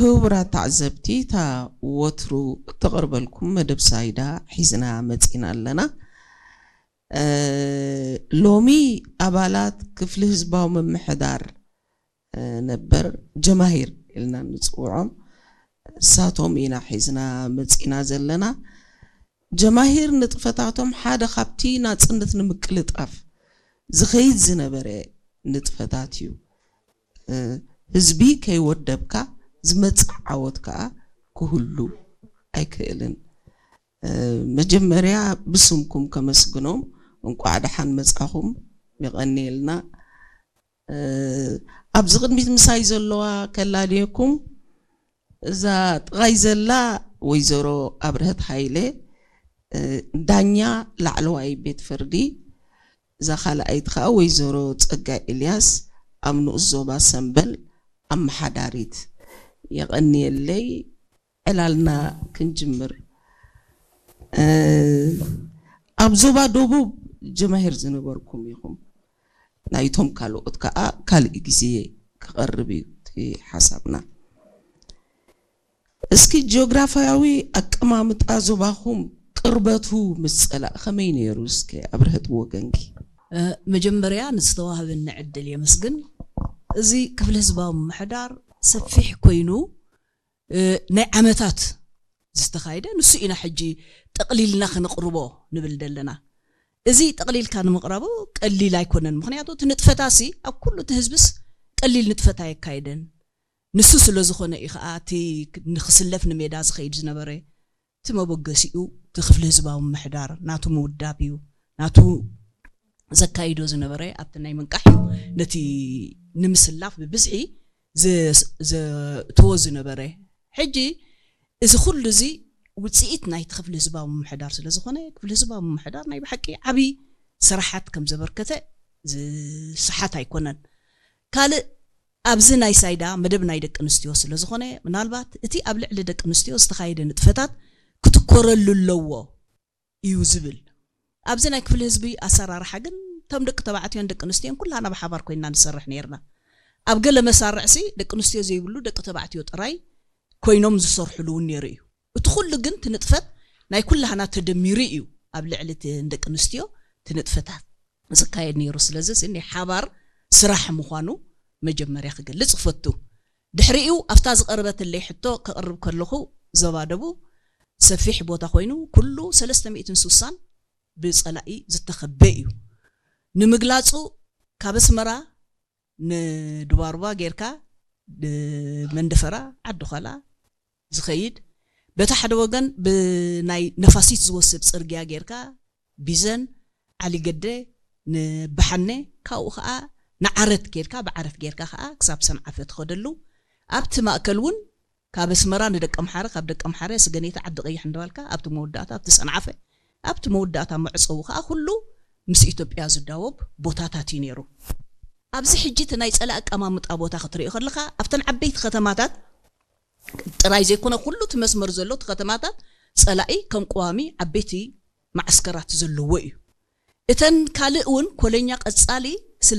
ክቡራት ተዓዘብቲ፣ እታ ወትሩ እተቕርበልኩም መደብ ሳይዳ ሒዝና መጺና ኣለና። እ፣ ሎሚ ኣባላት ክፍሊ ህዝባዊ ምምሕዳር፣ እ፣ ነበር ጀማሂር ኢልና ንጽውዖም፣ እሳቶም ኢና ሒዝና መጺና ዘለና። ጀማሂር ንጥፈታቶም ሓደ ካብቲ ናጽነት ንምቅልጣፍ ዝኸይድ ዝነበረ ንጥፈታት እዩ። እ፣ ህዝቢ ከይወደብካ ዝመጽእ ዓወት ከኣ ክህሉ ኣይክእልን። እ፣ መጀመርያ ብስምኩም ከመስግኖም፣ እንቋዕ ደሓን መጻኹም፣ የቐንየልና። እ፣ ኣብዚ ቅድሚት ምሳይ ዘለዋ ከላልየኩም፣ እዛ ጥቓይ ዘላ ወይዘሮ ኣብርሀት ሃይለ፣ እ፣ ዳኛ ላዕለዋይ ቤት ፍርዲ፣ እዛ ካልኣይት ከኣ ወይዘሮ ጸጋይ ኤልያስ ኣብ ንኡስ ዞባ ሰምበል ኣመሓዳሪት። የቐንየለይ። ዕላልና ክንጅምር፣ እ፣ ኣብ ዞባ ደቡብ ጀማሂር ዝነበርኩም ኢኹም። ናይቶም ካልኦት ከኣ ካልእ ግዜ ክቐርብ እዩ እቲ ሓሳብና። እስኪ ጂኦግራፍያዊ ኣቀማምጣ ዞባኹም ቅርበቱ ምስ ጸላእ ከመይ ነይሩ? እስከ ኣብርሀት ብወገንኪ። እ፣ መጀመርያ ንዝተዋህበኒ ዕድል የመስግን። እዚ ክፍሊ ህዝባዊ ምምሕዳር ሰፊሕ ኮይኑ፣ እ፣ ናይ ዓመታት ዝተኻየደ ንሱ ኢና ሕጂ ጠቕሊልና ከነቕርቦ ንብል ዘለና። እዚ ጠቕሊልካ ንምቕራቡ ቀሊል ኣይኮነን። ምኽንያቱ እቲ ንጥፈታሲ ኣብ ኩሉ እቲ ህዝብስ ቀሊል ንጥፈት ኣየካየደን። ንሱ ስለ ዝኾነ እዩ ኸዓ እቲ ንክስለፍ ንሜዳ ዝኸይድ ዝነበረ። እቲ መበገሲኡ እቲ ክፍሊ ህዝባዊ ምምሕዳር ናቱ ምውዳብ እዩ። ናቱ ዘካይዶ ዝነበረ ኣብቲ ናይ ምንቃሕ እዩ ነቲ ንምስላፍ ብብዝሒ ዘ-፣ ዘእትዎ ዝነበረ። ሕጂ እዚ ኩሉ እዚ ውፅኢት ናይቲ ክፍሊ ህዝባዊ ምምሕዳር ስለ ዝኾነ፣ ክፍሊ ህዝባዊ ምምሕዳር ናይ ብሓቂ ዓብዪ ስራሓት ከም ዘበርከተ ዝሰሓት ኣይኮነን። ካልእ ኣብዚ ናይ ሳይዳ መደብ ናይ ደቂ ኣንስትዮ ስለ ዝኾነ፣ ምናልባት እቲ ኣብ ልዕሊ ደቂ ኣንስትዮ ዝተኻየደ ንጥፈታት ክትኮረሉ ኣለዎ እዩ ዝብል። ኣብዚ ናይ ክፍሊ ህዝቢ ኣሰራርሓ ግን እቶም ደቂ ተባዕትዮን ደቂ ኣንስትዮን ኩላና ብሓባር ኮይንና ንሰርሕ ነይርና። ኣብ ገለ መሳርዕሲ ደቂ ኣንስትዮ ዘይብሉ ደቂ ተባዕትዮ ጥራይ ኮይኖም ዝሰርሕሉ እውን ነይሩ እዩ። እቲ ኩሉ ግን እቲ ንጥፈት ናይ ኩላህና ተደሚሩ እዩ ኣብ ልዕሊ እቲ ንደቂ ኣንስትዮ እቲ ንጥፈታት ዝካየድ ነይሩ። ስለዚ እዚ ናይ ሓባር ስራሕ ምዃኑ መጀመርያ ክገልጽ እፈቱ። ድሕሪኡ ኣብታ ዝቐረበትለይ ሕቶ ከቕርብ ከለኹ ዞባ ደቡብ ሰፊሕ ቦታ ኮይኑ ኩሉ ሰለስተ ሚእትን ስሳን ብጸላኢ ዝተኸበ እዩ። ንምግላጹ ካብ ኣስመራ ንዱባሩባ ጌርካ ንመንደፈራ ዓዲ ዃላ ዝኸይድ፣ በቲ ሓደ ወገን ብናይ ነፋሲት ዝወስድ ጽርግያ ጌርካ ቢዘን፣ ዓሊገደ፣ ንበሓነ፣ ካብኡ ኸዓ ንዓረት ጌርካ፣ ብዓረት ጌርካ ኸዓ ክሳብ ሰንዓፈ ትኸደሉ። ኣብቲ ማእከል እውን ካብ ኣስመራ ንደቀምሓረ፣ ካብ ደቀምሓረ ስገኔታ ዓዲ ቀይሕ እንዳበልካ ኣብቲ መወዳእታ ኣብቲ ሰንዓፈ፣ ኣብቲ መወዳእታ መዕጸዊ ኸዓ ኩሉ ምስ ኢትዮጵያ ዝዳወብ ቦታታት እዩ ነይሩ። ኣብዚ ሕጂ እቲ ናይ ጸላኢ ኣቀማምጣ ቦታ ክትሪኦ ከለኻ ኣብተን ዓበይቲ ከተማታት ጥራይ ዘይኮነ ኩሉ እቲ መስመር ዘሎ እቲ ከተማታት ጸላኢ ከም ቀዋሚ ዓበይቲ መዓስከራት ዘለዎ እዩ። እተን ካልእ እውን ኮለኛ ቀጻሊ